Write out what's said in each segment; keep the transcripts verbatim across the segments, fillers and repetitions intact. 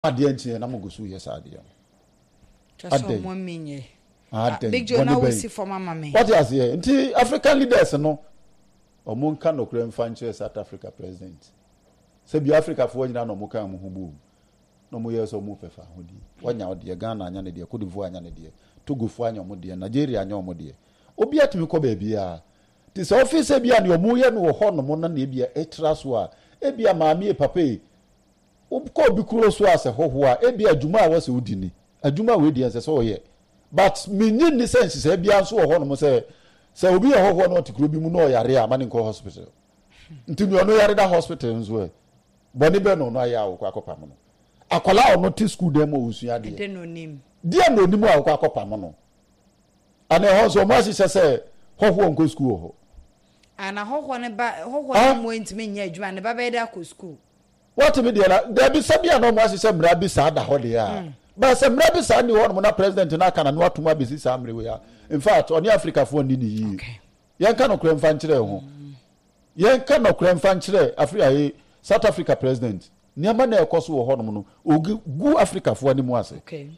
Adeɛ nkyɛn na mo gu so yɛ saa adeɛ no. Kyɛ sɛ ɔmo mi nyɛ. Adɛn? Big Joe, na wosi fam ama me. Wate aseɛ? Nti African leaders no, ɔmo nka nokorɛ mfa nkyerɛ South Africa president sɛ bi Africafoɔ nyinaa na ɔmo ka ɔmo ho bom na ɔmo yɛ sɛ ɔmo pɛ fa ahodie. Wanya ɔdeɛ, Ghana anya ne deɛ, Cote d'Ivoire anya ne deɛ, Togofoɔ anya ɔmo deɛ, Nigeria anya ɔmo deɛ, obi atumi kɔ baabiara. Nti sɛ ɔfi sɛ bi a nea ɔmo yɛ no wɔ hɔ nom na nea ebia ɛtra so a, ebia maame yi, papa yi, wokɔ obi kuro so a sɛ hɔhoɔ a, ebia adwuma a wɔsɛ wodi ni, adwuma wei deɛ ɛnsɛ sɛ ɔyɛ. But menyi nni sɛ nhyehyɛe biara nso wɔ hɔnom sɛ sɛ obi yɛ hɔhoɔ na ɔte kuro bi mu na ɔyare a, ma ne nkɔ hospital. Nti nea ɔno yare da hospital nso ɛ, bɔne bɛn na ɔno ayɛ a wɔkɔ akɔpam no? Akwadaa a ɔno te school dan mu a ɔsua adeɛ, Ɛdɛ na onim. Deɛ na onim a wɔkɔ akɔpam no? Ana ɛhɔ nso ɔmo ahyehyɛ sɛ hɔhoɔ nkɔ school wɔ hɔ? Ana hɔhoɔ ne ba, hɔhoɔ Ah? ne mu ntumi nyɛ adwuma, ne ba bɛyɛ dɛ akɔ school? Wɔtumi deɛ na dabi sɛ bia na ɔmo ahyehyɛ mmara bi saa da hɔ deɛ a, ba sɛ mmara bi saa ni hɔ nom na president no aka na no atom abɛsi saa mmere wei a, in fact, ɔne Africafoɔ nni ne yie. Okay. Yɛnka nokorɛ mfa nkyerɛ ho, yɛnka nokorɛ mfa nkyerɛ Afri ayi South Africa president. Nneɛma na ɛkɔ so wɔ hɔnom no, ogu gu Africafoɔ anim ase. Okay.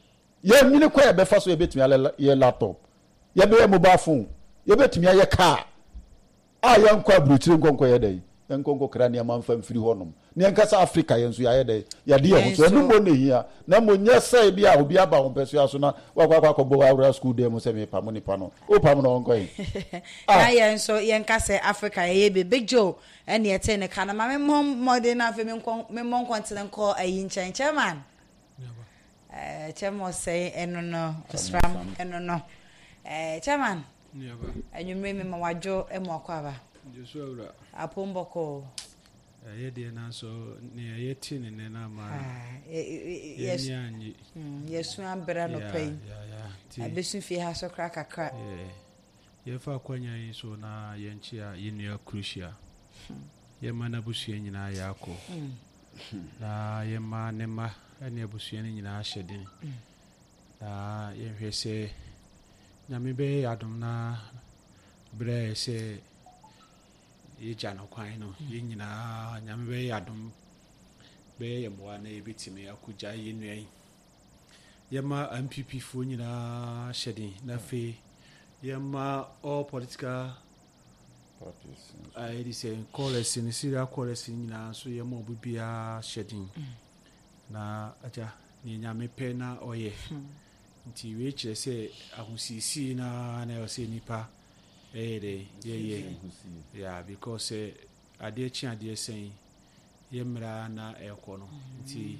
Yɛnwene kwan yɛbɛfa so, yɛbɛtumi ayɛ yɛ laptop, yɛbɛyɛ mobile phone, yɛbɛtumi ayɛ car a yɛnkɔ aburokyire nkɔnkɔ yɛ dɛ, yɛnkɔ nkɔkra nneɛma mfa mfiri hɔnom ne yɛnkasa Africa. Yɛn nso yɛayɛ dɛ yɛde yɛn ho so. Ɛno mmɔ ne hia na mmɔ nyɛ sɛ bi a obi aba wɔn pɛsoa so na wakɔ akɔ akɔbɔ awura school dan mu sɛ mepam nipa no, wopam no, ɔnkɔ yi. Na yɛn nso yɛnka sɛ Africa yɛyɛ bi. Big Joe ɛne ɛte ne ka no ma memmɔ mmɔden na afei menkɔ memmɔ nkɔntene nkɔ ayi nkyɛn, chairman, ɛɛ chairman ɔsɛe ɛno no, ɔsram ɛno no, ɛɛ chairman, anwummerɛ mi ma wadwo mu akɔ aba. Apom bɔkɔɔ? Ɛyɛ deɛ, nanso nea yɛte ne nɛ no ama yɛni anye. Yɛsu abrɛ nɔpa yi, abɛsu fie ha so kora kakra. Yɛfa akwanya yi so na yɛnkyea yɛnnua Crucia, yɛma n'abusua nyinaa yɛakɔ na yɛma ne mma ne abusua no nyinaa hyɛ den na yɛnhwɛ sɛ Nyame bɛyɛ yɛ adom na berɛ a sɛ yɛgya no kwan no, yɛn nyinaa Nyame bɛyɛ yɛ adom, bɛyɛ yɛ mmoa na yɛbɛtumi akɔgya yɛn nua yi. Yɛma N P P foɔ nyinaa hyɛ den na afei yɛma all political yɛde sɛ callers no, serial callers no nyinaa nso, yɛma obi biara hyɛ den na agya nea Nyame pɛ na ɔyɛ. Nti wei kyerɛ sɛ ahosiesie na na ɛwɔ sɛ nipa ɛyɛ dɛ yɛyɛ, yeah, because sɛ adeɛ kye adeɛ sɛn, yɛ mmerɛ na ɛkɔ no, nti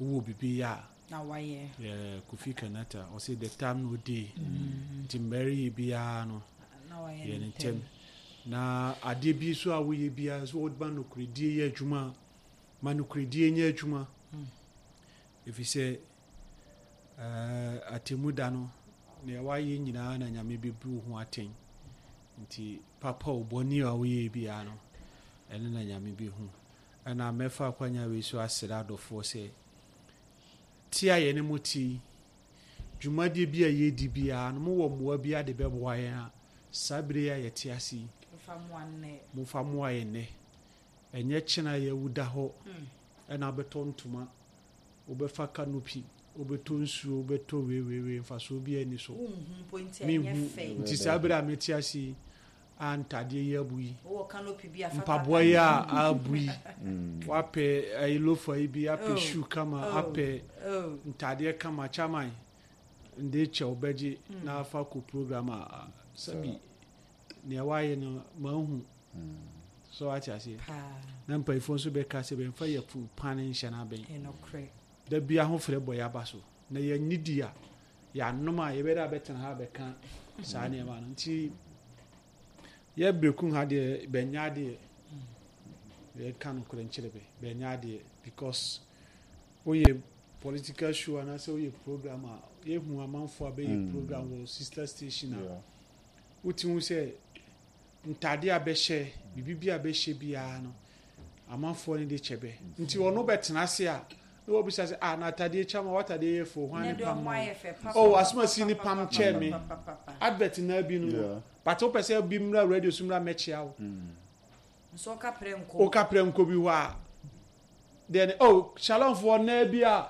wowɔ biribi yɛ a na wayɛ. Yeah, Kofi Kanata ɔsɛ "The time no dey", nti mmerɛ yɛ biara no na wayɛ. Yɛ ne ntɛm na adeɛ bi so a woyɛ biara so, wɔde nokoredie yɛ adwuma, ma nokoredie nyɛ adwuma, ɛfiri sɛ ɛɛ atemu da no, nea wayɛ nyinaa na Nyame bɛbu wo ho atɛn. Nti papa o, bɔne a woyɛ biara no, ɛno na Nyame bɛhu. Ɛna mɛfa akwanya wei so asrɛ adɔfoɔ sɛ te a yɛne mo te yi, dwumadie bi a yɛdi biara no, mowɔ mmoa bi ade bɛboa yɛn a, saa bere yi a yɛte ase yi, fa mmoa nnɛ. Momfa mmoa yɛn nnɛ, ɛnyɛ kyena yɛwu da hɔ ɛna wobɛtɔ ntoma, wobɛfa canopy, wobɛtɔ nsuo, wobɛtɔ weiweiwei, mfasoɔ bi ani so. Wonhu mpo nti ɛnyɛ Menhu. fɛ. Nti saa bere a mete ase yi a, ntadeɛ yi abu yi, wowɔ canopy bi a fa mpaboa yi a abu yi, wapɛ ayi loafer yi bi apɛ Oh. shoe kama, Oh. apɛ Oh. ntadeɛ kama, chairman nde kyɛw bɛgye na afa kɔ program a, sɛbi nea wayɛ no mahu so, wate aseɛ? Paa. Na mpanyinfoɔ nso bɛka sɛ bɛmfa yɛ fu pan nhyɛ n'abɛn. Ɛnokorɛ. Da bi ahofrɛ bɔ yɛaba so na yɛnni di a yɛanom a, yɛbɛdɛ abɛtena ha abɛka saa nneɛma no. Nti yɛ Berekum ha deɛ, bɛnya adeɛ, yɛka nokorɛ nkyerɛ bɛ, bɛnya adeɛ, because woyɛ political show anaasɛ woyɛ program a, yɛhu amanfoɔ a bɛyɛ Mm. program wɔ sister station a, Yeah. wote hu sɛ ntade a bɛhyɛ, biribi bi a bɛhyɛ biara no, amanfoɔ no de kyɛ bɛ. Nti ɔno bɛtena ase a, na wɔbisa sɛ, "Ah, na atadeɛ kyɛ ma watadeɛ yɛ fo, hwan ne pam ma wo?" "Oh, asomasi ne pam kyɛ me." Advert na bi no no Yeah. But wopɛ sɛ bi mmra radio so mmra mɛkyia wo. Nso ɔka prɛ nkɔ. Woka prɛ nkɔ bi hɔ a deɛ ne, oh, Shalomfoɔ naa bi a